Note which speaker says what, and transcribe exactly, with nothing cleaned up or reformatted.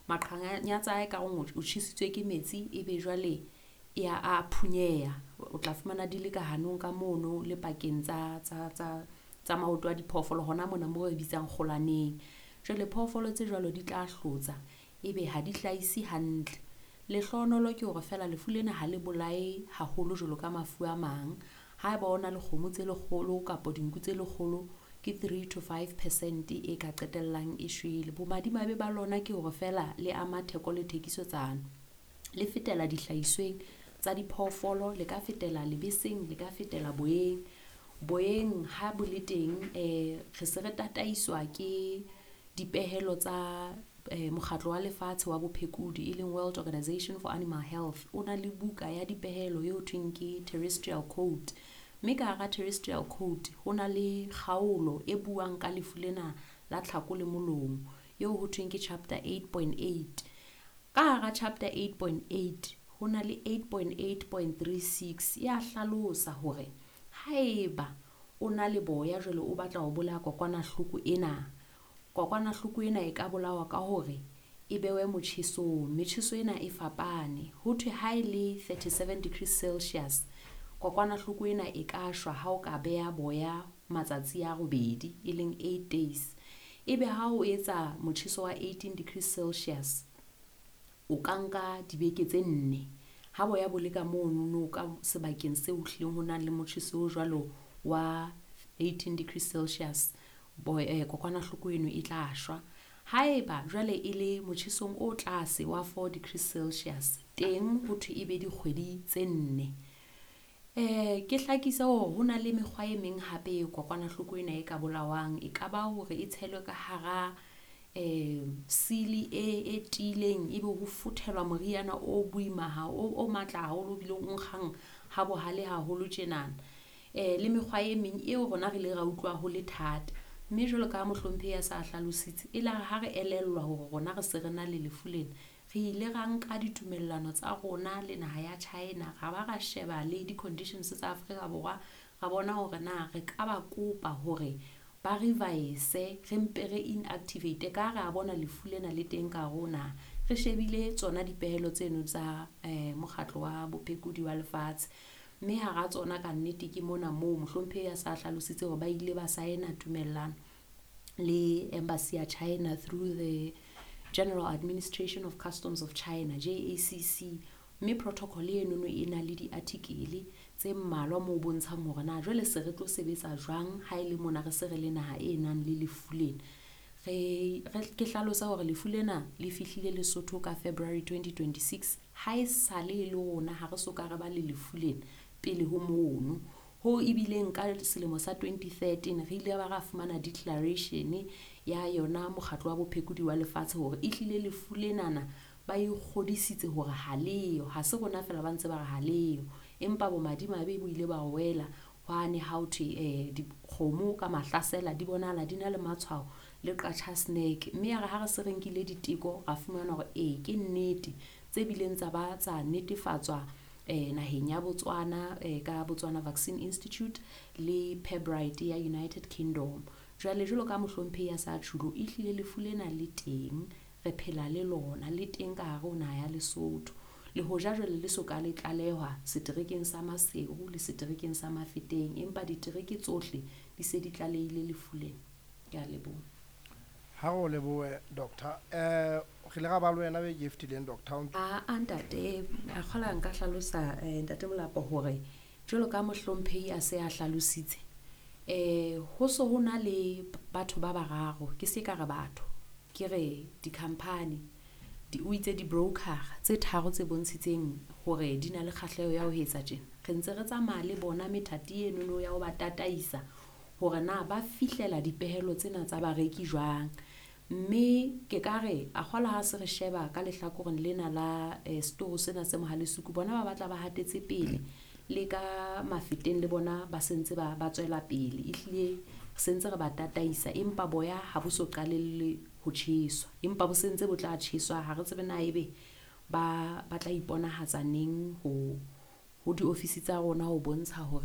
Speaker 1: Maqhanyatsa a e ka reng o tjhesitswe ke metsi, ebe jwale e a a phunyeha. O tla fumana di le ka hanong ka mono le pakeng tsa tsa tsa tsa maoto a diphoofolo hona mona mo re bitsang kgolaneng. Jwale phoofolo tse jwalo di tla hlotsa ebe ha di hlahise hantle. Lehlohonolo ke hore feela lefu lena ha le bolae haholo jwalo ka mafu a mang. Haeba o na le kgomo tse lekgolo kapa dinku tse lekgolo ke three to five percent e ka qetellang e shwele. Bomadimabe ba lona ke hore feela le ama theko le thekisetsano. Le fetela dihlahisweng tsa diphoofolo, le ka fetela lebeseng, le ka fetela boyeng. Boyeng ha bo le teng re se re tataiswa ke dipehelo tsa mokgatlo wa lefatshe wa bophekodi e leng World Organisation for Animal Health. O na le buka ya dipehelo eo thweng ke Terrestrial Code, mme ka hara Terrestrial Code ho na le kgaolo e buang ka lefu lena la tlhako le molomo eo ho thweng ke chapter eight point eight. Ka hara chapter eight point eight ho na le eight point eight point three six ya hlalosa hore haeba o na le boya jwale o batla ho bolaya kokwanahloko ena, kokwanahloko ena e ka bolawa ka hore e bewe motjhesong. Metjheso ena e fapane. Ho thwe ha e le thirty-seven degrees Celsius, kokwanahloko ena e ka shwa ha o ka beha boya matsatsi a robedi e leng eight days. Ebe ha o etsa motjheso wa eighteen degrees Celsius, o ka nka dibeke tse nne. Ha boya bo le ka monono ka sebakeng seo hlileng ho nang le motjheso o jwalo wa eighteen degrees Celsius, kokwanahloko eno e tla shwa. Haeba jwale e le motjhesong o tlase wa four degrees Celsius, teng ho thwe e be dikgwedi tse nne. Eh ke hlakise hore ho na le mekgwa e meng hape e kokwanahloko ena e ka bolawang. E ka ba hore e tshelwe ka hara eh sili e e tiileng, ebe ho futhelwa moriana o boima ha o o matla haholo o bileng o nkgang ha bohale haholo tjenana. Eh le mekgwa e meng eo rona re ile ra utlwa ho le thata. Mme jwalo ka mohlomphehi a sa hlalositse, e la re ha re elellwa hore rona re se re na le lefu lena, re ile ra nka ditumellano tsa rona le naha ya China, ra ba ra sheba le di-conditions tsa Afrika Borwa, ra bona hore na re ka ba kopa hore ba revise, re mpe re inactivate ka ha re a bona lefu lena le teng ka hare ho naha. Re shebile tsona dipehelo tseno tsa eh mokgatlo wa bophekodi wa lefatshe. Mme hara tsona ka nnete ke mona moo mohlomphehi a sa hlalositse hore ba ile ba saena tumellano le embassy ya China through the General Administration of Customs of China, J A C C. Mme protocol enono e na le di-article tse mmalwa moo bontshang hore na jwale se re tlo sebetsa jwang ha e le mona re se re le naha e nang le lefu lena. Re, re ke hlalosa hore lefu lena le fihlile Lesotho ka February twenty twenty-six. Ha e sale e le rona ha re soka re ba le lefu lena pele ho mono. Ho ebileng ka selemo sa twenty thirteen re ile ba ra fumana declaration ya yona mokgatlo wa bophekodi wa lefatshe hore ehlile lefu lenana ba ikgodisitse hore ha leyo. Ha se rona feela ba ntse ba re ha leyo, empa bomadimabe bo ile ba wela hwane ha ho thwe eh dikgomo ka mahlasela di bonahala di na le matshwao le Qacha's Nek. Mme ya re ha re se re nkile diteko ra fumana hore ee ke nnete, tse bileng tsa ba tsa netefatswa eh naheng ya Botswana eh ka Botswana Vaccine Institute le Pirbright ya United Kingdom. Jwale jwalo ka mohlomphehi a sa tjhulo, ehlile lefu lena le teng, re phela le lona, le teng ka hare ho naha ya Lesotho. Le hoja jwale le so ka le tlalehwa seterekeng sa Maseru le seterekeng sa Mafeteng, empa ditereke tsohle di se di tlalehile lefu lena. Ke a leboha.
Speaker 2: Ha o lebohe doctor. Eh re ile ra ba le wena beke e fetileng doctor.
Speaker 1: A a ntate, a kgola nka hlalosa eh ntate Molapo hore jwalo ka mohlomphehi a se a hlalositse, eh ho so ho na le batho ba bararo, ke se ka re batho, ke re di-company, di o itse di-broker tse tharo tse bontshitseng hore di na le kgahleho ya ho etsa tjena. Re ntse re tsamaya le bona methati enono ya ho ba tataisa hore na ba fihlela dipehelo tsena tsa bareki jwang. Mme ke ka re a kgola ha se re sheba ka lehlakoreng lena la eh, setoro sena se Mohalesuku, bona ba batla ba hatetse pele le ka Mafeteng le bona ba sentse ba ba tswela pele. Ehlile re sentse re ba tataisa, empa boya ha bo so qalelle ho tjheswa, empa bo sentse bo tla tjheswa. Ha re tsebe na ebe ba ba tla iponahatsa neng ho ho diofisi tsa rona ho bontsha hore